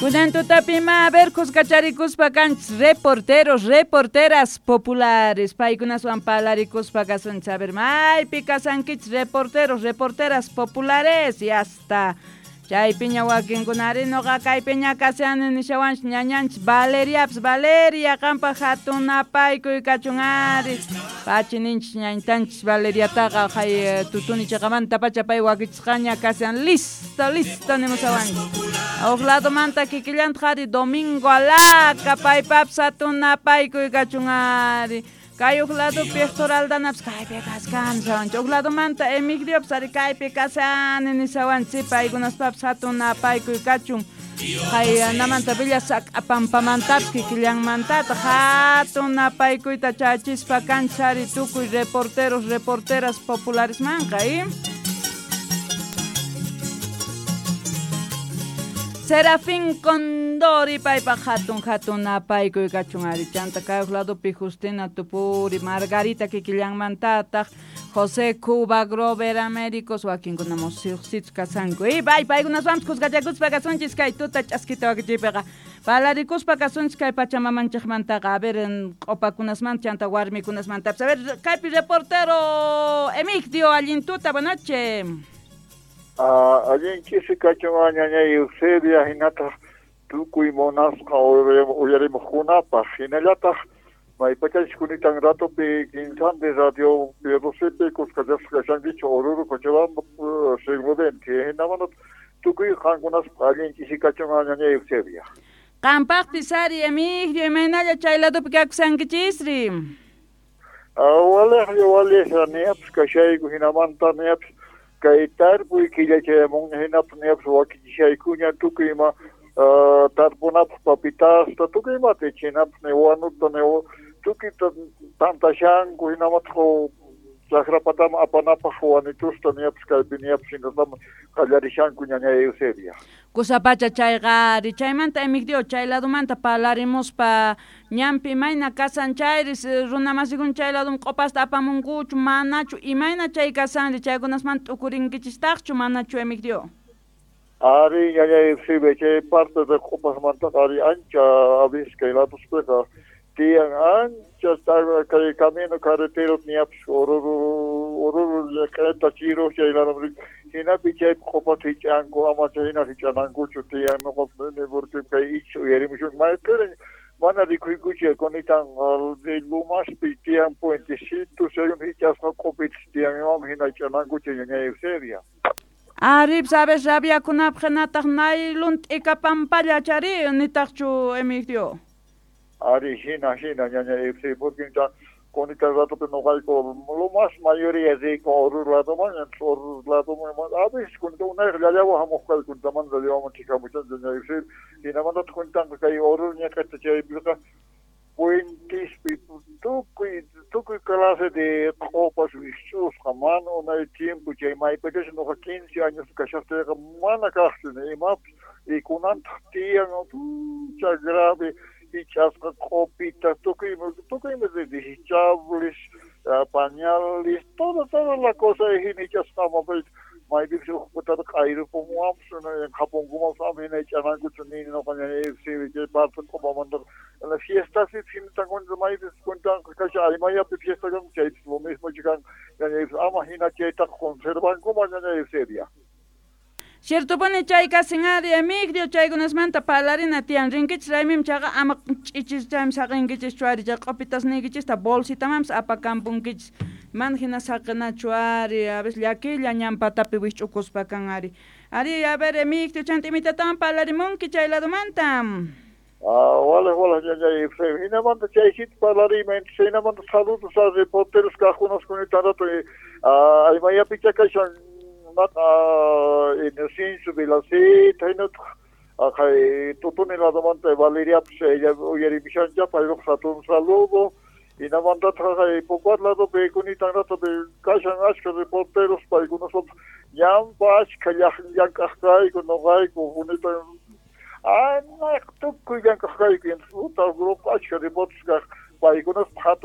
Kunan tutapima a ver kuskacharikuspa kanchis reporteros, reporteras populares. Paykunaswan palarikuspa kasunchis. A ver, maypi kasankichis reporteros, reporteras populares. Y hasta chaypiña wakinkunari noqa kaypiña kashani nishawanchis ñañanchis Valeriapas. Valeria, qanpaq hatun napaykuy kachun ari. Pachi ninchis ñañtanchis Valeriataqa hay tutuni chiqamantapacha pay wakichisqaña kashan listo, listo nimushawanchis. Huk ladomanta kikillantaq ari Domingo Alaca paypapas hatun napaykuy kachun ari. Kay huk ladopi Héctor Aldanapas kaypi kashkani nishawanchis. Huk ladomanta Emigdiopas ari kaypi kashani nishawanchis. Paykunaspapas hatun napaykuy kachun. Haynamanta Villa Sac'apampamantapis kikillanmantataq hatun napaykuyta chachispa kanchis ari tukuy reporteros, reporteras popularesmanqa, Serafín Condori paypaq hatun hatun napaykuy kachun ari. Chanta kay huk ladopi Justina Tupuri, Margarita kikillanmantataq, José Cuba, Grover Américos, wakinkuna musiqsichus kasanku. Y bay paykunaswanpis kuskachakuspa kasunchis kay tuta ch'askita wakichiypiqa. Palarikuspa kasunchis kay pachamamanchikmantaqa. A ver, q'upakunasmanta chanta warmikunasmantapis. A ver, kaypi reportero Emigdio, allin tuta, buenas noches. Allin ch'isi kachun ñañay Eusebia hinataq tukuy munasqa uyarimuqkunapaq hinallataq maypachachis kunitan ratopi kinsanpi radio Pierrosepi kuskachasqa kashankichik Oruro Cochabamba siglo XX hinamanta tukuy qankunaspa allin ch'isi kachun ñañay Eusebia. Qampaqpis ari Emigdio, imaynalla chay ladopi kakusankichisri? Waliqlla waliqlla niyapis kashayku hinamanta niyapis kay tarpuy killachayamunña hinapis niyapis wakichishaykuña tukuy ima tarpunapaq papitasta tukuy imata chinapis ni wanuta ni tukuyta tantashanku hinamataq chakrapataman apanapaq wanitusta niyapis kaypi niyapis hinatama qallarishanku ñañay Eusebia. Kusapacha chayqa ari chaymanta Emigdio chay ladomanta palarimuspa ñanpi imayna kasan chayris runamasikuna chay ladoman q'upasta apamunkuchu manachu imayna chay kasanri chaykunasmanta t'ukurinkichistaqchu manachu Emigdio? Ari ñañay Eusebia chay parte de q'upasmantaqa ari ancha a veces kay ladospiqa tiyan ancha kay camino carretero niyapis Oruro llaqta Chiro chay ladoman hinapi chaypi q'upata hich'anku ama chayhina hich'anankuchu tiyan noqa porque kay icha uyarimushun maypirin mana rikuykuchu kunitan Lumaspi tiyan puentecito según hich'asqa q'upitas tiyan imam hina hich'anankuchu ñañay Eusebia. Ari, sabes rabiakunapaq hinataq naylon t'ika pampalla chari nitaqchu Emigdio? Ari hina hina ñañay Eusebia porque kunitan ratopi noqayku lo más mayoría riyku Oruro ladoman Oruro ladoman a veces kunita unayqa llallawa hamuq kayku kuntamanta llallawaman chikamuchanchik ñañay Eusebia hinamantataq kunitanqa kay Oruro ñaqata chaypiqa puentespi tukuy clase de q'upas wikch'usqa mana unay tiempo chay maypachachus noqa 15 años kashaqtiyqa mana kaqchu ni imapis y kunantaq tiyan pucha grave hich'asqa q'upita tukuy ima desechables pañales toda la cosa hina hich'asqa ama maypipis huk putata q'ayrupumuwanpis qhapunkumanpis ama hina hich'anankuchu nini noqa ñañay Eusebia chay parte q'upamantaqa la fiestaspi hinatanku maypis kuntanqa kashan Aymayapi fiesta kan chaypis lo mismo kan ñañay ama hina chaytaqa conservankuman ñañay Eusebia. Ciertopuni chay kasin ari Emigdio chaykunasmanta parlarina tiyan rinkichis raymim chayqa ama ch'ichis chaymi saqinkichis ari chay q'upitasniykichista bolsitamanpis apakampunkichis mana hina saqinachu ari a veces llakilla ñan patapi wikch'ukuspa kan ari. Ari a ver Emigdio chanta imitatawan parlarimunki chay ladomanta. Wala wala ñañay Eusebia hinamanta chaysita parlariyman hinamanta saludos a reporteros kaqkunas kunitan rato Aymayapicha kashan Inocencio Vilaceta hinataq kay Tutuni ladomanta Valeriapis ella uyarimishancha paypaq hatun saludo hinamantataq kay Pocuat ladopi kunitan rato kashan ashka reporteros paykunaswanpis ñanpa ashka llank'aq kayku noqayku kunitan anaq tukuy llank'aq kayku puta grupo ashka reporteros kaq paykunaspa hatun